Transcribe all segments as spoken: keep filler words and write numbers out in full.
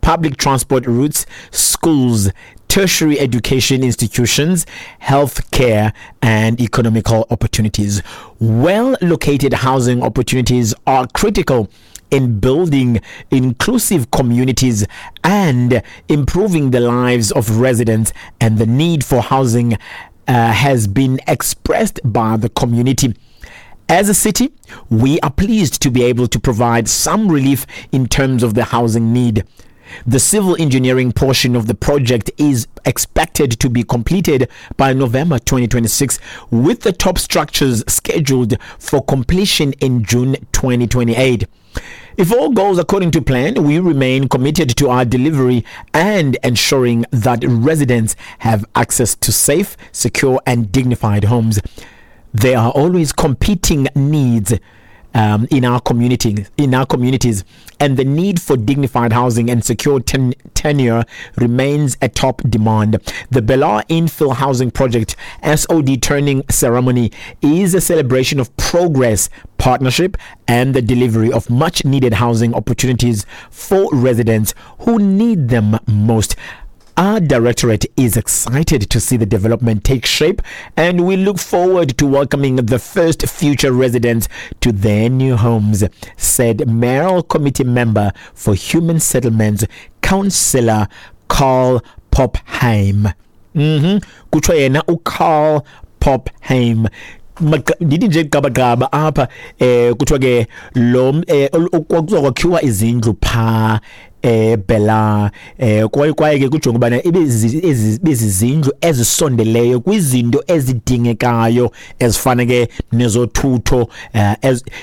Public transport routes, schools, tertiary education institutions, healthcare, and economical opportunities. Well located housing opportunities are critical in building inclusive communities and improving the lives of residents, and the need for housing uh, has been expressed by the community. As a city, we are pleased to be able to provide some relief in terms of the housing need. The civil engineering portion of the project is expected to be completed by November twenty twenty-six, with the top structures scheduled for completion in June twenty twenty-eight. If all goes according to plan, we remain committed to our delivery and ensuring that residents have access to safe, secure, and dignified homes. There are always competing needs um, in our community, in our communities, and the need for dignified housing and secure ten- tenure remains a top demand. The Belhar Infill Housing Project S O D turning ceremony is a celebration of progress, partnership, and the delivery of much needed housing opportunities for residents who need them most. Our directorate is excited to see the development take shape, and we look forward to welcoming the first future residents to their new homes, said Mayoral Committee Member for Human Settlements, Councillor Carl Pophaim. Mm-hmm. Kutsho yena uCarl Pophaim. Ndithi nje gqabagqaba apha, eh kuthiwa ke lo eh kuzokwakhiwa izindlu pha eBelhar, eh kwaye kwaye ke kujonga ubana ibe bezizindlu ezisondeleyo kwizinto ezidingekayo ezifana ke nezothutho, eh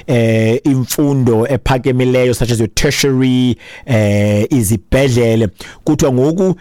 eh imfundo ephakemileyo such as your tertiary, eh izibhedlele. Kuthiwa ngoku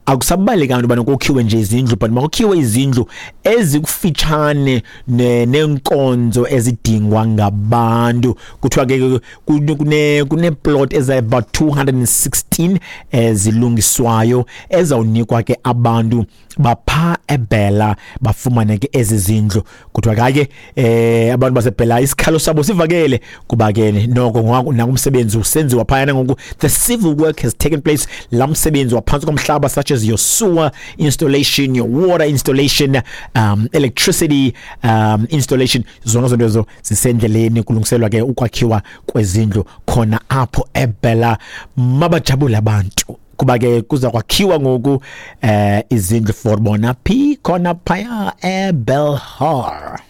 akusabalekanga into yobana kokhiwe nje izindlu, but makukhiwe izindlu ezikufitshane neenkonzo ezidingwa ngabantu. Kuthiwa ke kune kuneplot eza about two hundred and sixteen ezilungiswayo ezawunikwa ke abantu bapha eBelhar bafumane ke ezi zindlu. Kuthiwa ke eh abantu baseBelhar isikhalo sabo sivakele kuba ke noko nakumsebenzi usenziwa phayana ngoku. The civil work has taken place, la msebenzi waphantsi komhlaba such as your sewer installation, your water installation, um, electricity um, installation, zonke zonto ezo zisendleleni kulungiselwa ke ukwakhiwa kwezindlu khona apho eBelhar. Mabajabule abantu kuba ke kuza kwakhiwa ngoku eh izindlu for bona phi khona phaya eBelhar.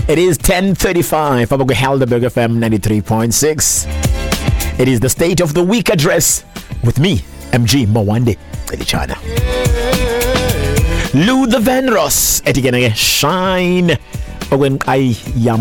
It is ten thirty-five apha kwiHelderberg F M ninety-three point six. It is the State of the Week address with me, M G Mawande Celichana. Lou the Van Ross, ethi ke shine okwenqayi yam.